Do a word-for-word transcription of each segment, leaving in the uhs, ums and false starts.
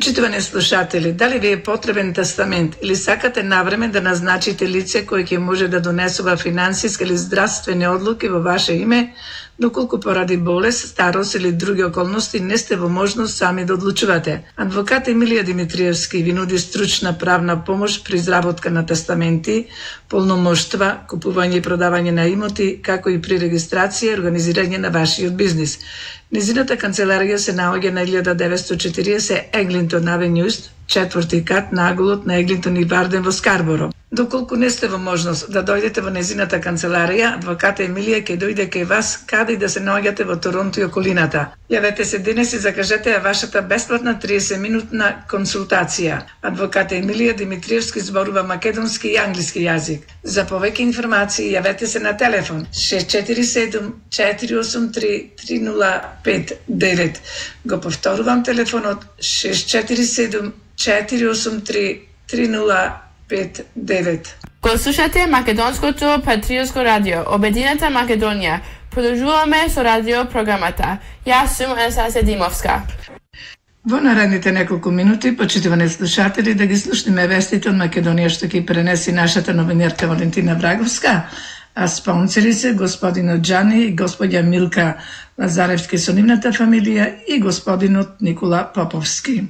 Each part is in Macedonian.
Почитувани слушатели, дали ви е потребен тестамент или сакате навреме да назначите лице кој ќе може да донесува финансиски или здравствени одлуки во ваше име, доколку поради болест, старост или други околности не сте во можност сами да одлучувате? Адвокат Емилија Димитриевски ви нуди стручна правна помош при изработка на тестаменти, полномоштва, купување и продавање на имоти, како и при регистрација и организирање на вашиот бизнис. Незината канцеларија се наоѓа на илјада деветстотини и четиридесет Еглинтон Авенју, четврти кат на аголот на Еглинтон и Барден во Скарборо. Доколку не сте во можност да дојдете во незината канцеларија, адвоката Емилија ќе дојде кај вас каде и да се наоѓате во Торонто и околината. Јавете се денес и закажете ја вашата бесплатна триесет минутна консултација. Адвоката Емилија Димитриевски зборува македонски и англиски јазик. За повеќе информации јавете се на телефон шест четири седум четири осум три три нула пет девет. Го повторувам телефонот шест четири седум четири осум три три нула пет девет. Го слушате Македонското патриотско радио, Обединета Македонија. Продолжуваме со радио програмата. Јас сум Анастасија Димовска. Во наредните неколку минути, почитувани слушатели, да ги слушнеме вестите од Македонија што ќе пренеси нашата новинарка Валентина Враговска, а спонсори се господинот Џани и господја Милка Лазаревски со нивната фамилија и господинот Никола Поповски.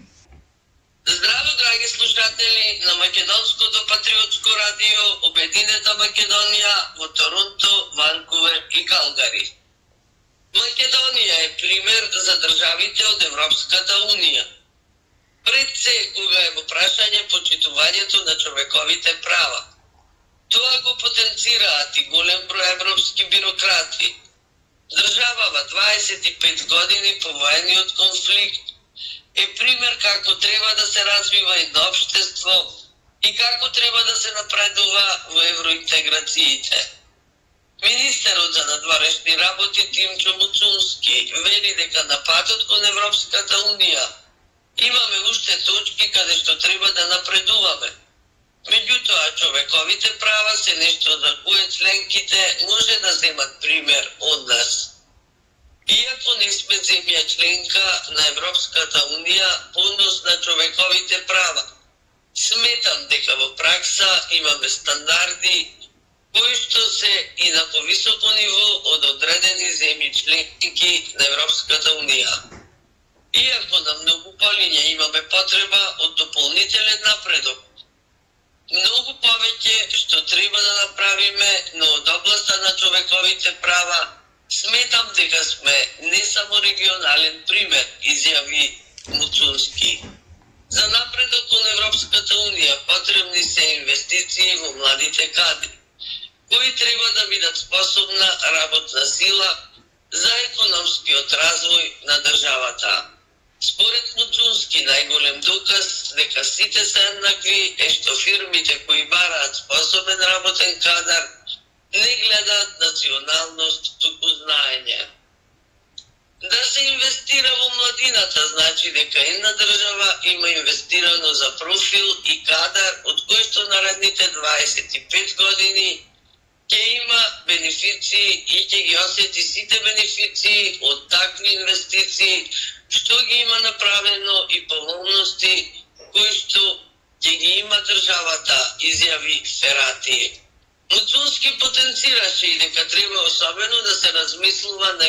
Здраво, драги слушатели на Македонското патриотско радио Обединета Македонија во Торонто, Ванкувер и Калгари. Македонија е пример за државите од Европската унија. Пред се кога е во прашање почитувањето на човековите права. Тоа го потенцираат и голем број европски бюрократи. Држава во дваесет и пет години по воениот конфликт е пример како треба да се развива едно општество и како треба да се напредува во евроинтеграциите. Министерот за надворешни работи Тимчо Муцунски вели дека на патот кон Европската унија имаме уште точки каде што треба да напредуваме. Меѓутоа, човековите права се нешто за кое членките може да земат пример од нас. Иако не сме земја членка на Европската унија по однос на човековите права, сметам дека во пракса имаме стандарди кои што се и на повисоко ниво од одредени земји членки на Европската унија. Иако на многу полиња имаме потреба од дополнителен напредок, многу повеќе што треба да направиме, но од областа на човековите права сметам дека сме не само регионален пример, изјави Муцунски. За напредок кон Европската унија потребни се инвестиции во младите кадри, кои треба да бидат способна работна сила за економскиот развој на државата. Според Муцунски, најголем доказ дека сите се еднакви е што фирмите кои бараат способен работен кадар не гледаат националност, туку знаење. Да се инвестира во младината значи дека една држава има инвестирано за профил и кадар од кој што наредните дваесет и пет години ќе има бенефиции и ќе ги осети сите бенефиции од такви инвестиции што ги има направено и поволности кои што ќе ги има државата, изјави Ферати. Муцунски потенцираше и дека треба особено да се размислува на